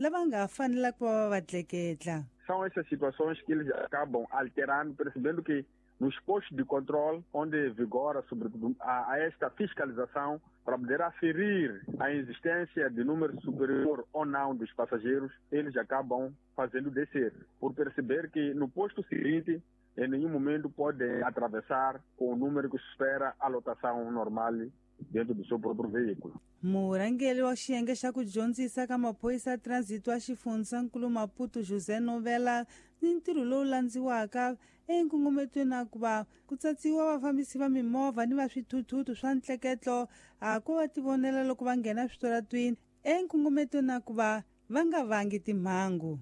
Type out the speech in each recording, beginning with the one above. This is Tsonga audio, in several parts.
Lava nga ha fanelaka ku va va va tleketla. São essas situações que eles acabam alterando, percebendo que nos postos de controle, onde vigora sobretudo a esta fiscalização, para poder aferir a existência de número superior ou não dos passageiros, eles acabam fazendo descer, por perceber que no posto seguinte, em nenhum momento podem atravessar com o número que supera a lotação normal dentro do seu próprio veículo. Murhangeri wa xiyenge xa ku dyondzisa ka maphorisa ya transit wa xifundzankulu Maputo José Novela ni ntirho lowu landziwaka enkungumetweni a ku va ku tsatsiwa vafambisi va mimovha ni va swithuthuthu swa ntleketlo a ko va tivonela loko va nghena switaratwini enkungumetweni a ku va va nga vangi timhangu.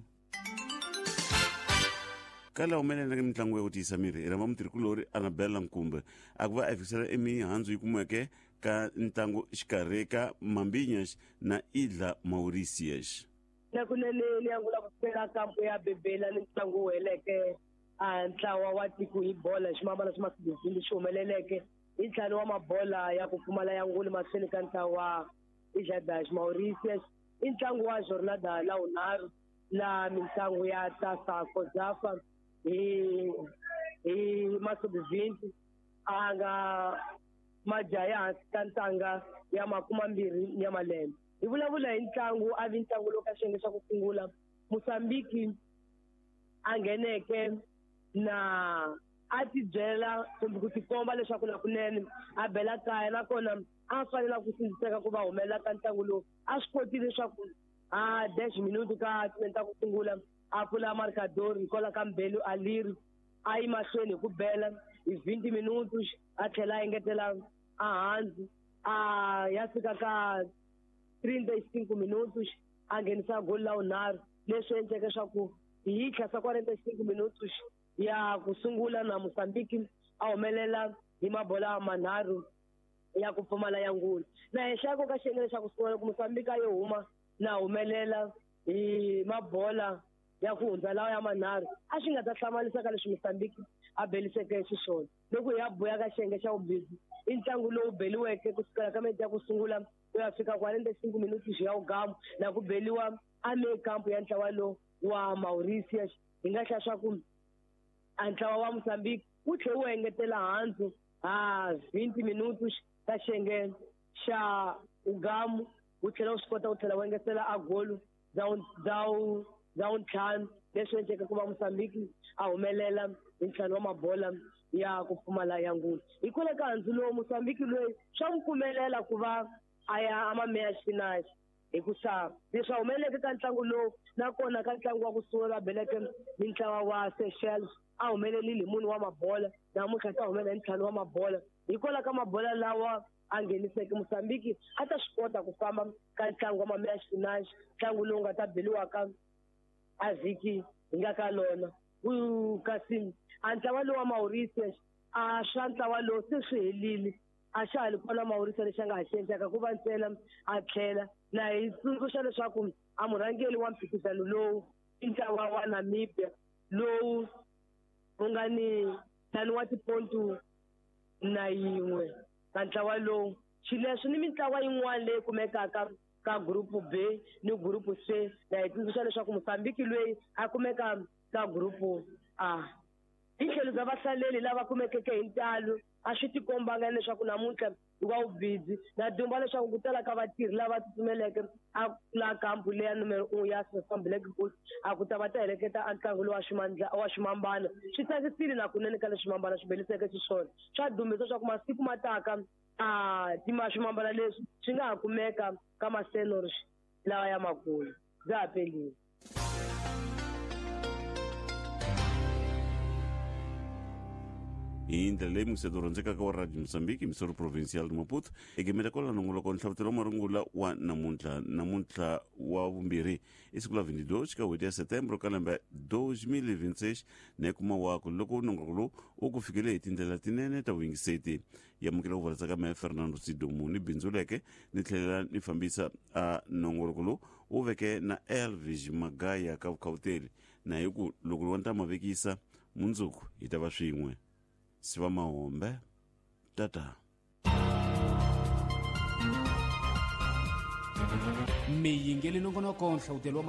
Ka laha humeleleke mitlangu ya ku tiyisa miri hi rhamba mutirhikulori Annabella Nkumbe a ku va a fikisela emihandzu yi kumiweke ka ntlangu xikarhi ka Mambinhas na Idla Mauritius. Na kunene ni angula ku sukela kampu ya Bebela ni ntlangu wu heleke a ntlawa wa tiko hi bola hi ximambana xa masibizini lexi humeleleke hi ntlhanu wa mabola ya ku pfumala ya nguli mahlweni ka ntlawa Idla das Mauritius i ntlangu wa jornada la wunharhu laha mitlangu ya Tasa Kozafa hi hi masubivhinti a nga majaha ya hansi ka ntanga ya makumambirhi ya malembe. Hi vulavula hi ntlangu a vi ntlangu lowu ka xiyenge xa ku sungula Mozambique a ngheneke na a tibyela kumbe ku tikomba leswaku nakunene a bela kaya nakona a fanela ku sindziseka ku va humelela ka ntlangu lowu a swi kotile leswaku a 10 minuto ka timene ta ku sungula a pfula marcador hikwalaho ka Mbelu Aliri a yi mahlweni hi ku bela hi 20 minutos a tlhela a engetela a hansi a ya fika ka 35 minutos a nghenisa goli la vunharhu leswi endleke swa ku hi tlhasa 45 minutos ya ku sungula na Mozambique a humelela hi mabola manharhu ya ku pfumala ya ngula na henhla ko ka xiyenge lexaku sungula loko Mozambique a yo huma na humelela hi mabola ya ku hundza lawa ya manharhu a swi nga ta hlamarisa ka leswi Mozambique a beliseke xiswona loko hi ya buya ka xiyenge xa vumbirhi i ntlangu lowu beliweke kusukela ka minete ya ku sungula ku ya fika 45 minutos ya wugamu na ku beliwa a me kampu ya ntlawa lowu wa Mauritius hi nga hlaya swa ku a ntlawa wa Mozambique wu tlhe wu engetela handzu a 20 minutos ka xiyenge xa ugamu wu tlhela wu swi kota ku tlhela wu engetela a golu bya wuntlhanu leswi endleke ku va Mozambique a humelela hi ntlhanu wa mabola ya ku pfumala ya ngulu hikwalaho ka handzu lowu Mozambique loyi swa n'wi pfumelela ku va a ya a mameya xipinachi hikusa leswi humeleleke ka ntlangu lowu nakona ka ntlangu wa ku sungula va beleke ni ntlawa wa Seychelles a humelelile hi munhu wa mabola namuntlha ta humelela hi ntlhanu wa mabola hikwalaho ka mabola lawa a ngheniseke Mozambique a ta swi kota ku famba ka ntlangu wa mameya xipinachi ntlangu lowu nga ta beliwaka a vhiki hi nga ka lona kasi a ntlawa lowu wa Mauritius a swa ntlawa lowu se swi helile a xa ha li kona Mauritius lexi a nga ha xi endlaka ku va ntsena a tlhela na hi tsundzuxa leswaku a murhangeri wa mphikizano lowu i ntlawa wa Namibia lowu wu nga ni ntlhanu wa tipontu na yin'we ka ntlawa lowu xileswi ni mintlawa yin'wana leyi kumekaka ka gurupu B ni gurupu C na hi tsundzuxa leswaku Mozambique loyi a kumeka ka gurupu A hi tlhelo bya vahlaleli lava kumekeke hi ntalo a swi tikombanga leswaku namuntlha i wa vubidzi na dumba leswaku ku tala ka vatirhi lava tsutsumeleke a la kampu leya numero 1 ya Sasam Black Bulls a ku ta va ta heleketa a ntlangu lowu wa ximambana swi tsakisile na kunene ka leswi ximambana swi beliseke xiswona swa dumbisa swa ku masiku ma taka a tima swimambana leswi swi nga ha kumeka ka masenors lawa ya makulu bya ha pelile. Hi ndlela leyi museto rhandzekaka wa Radio Mozambique Missouri Provincial de Maputo egimeta kwala nongoloko nhlavutelo wa marungula wa namuntlha namuntlha wa vumbirhi i siku la 22 ka n'hweti ya setembro ka lembe 2026 na kuma wako loko nongoloko lowu wu ku fikele hi tindlela tinene ta vuyingiseti yamukela ku vulatsaka mehe Fernando Sidomu ni bindzuleke ni tlhelela ni fambisa a nongoloko lowu wu veke na Elvis Magaya ka vukhawuteli na hi ku loko lowa ni ta ma vekisa mundzuku hi ta va swin'we siva mahombe tata. Mi yingeli nongonoko nhlavutelo wa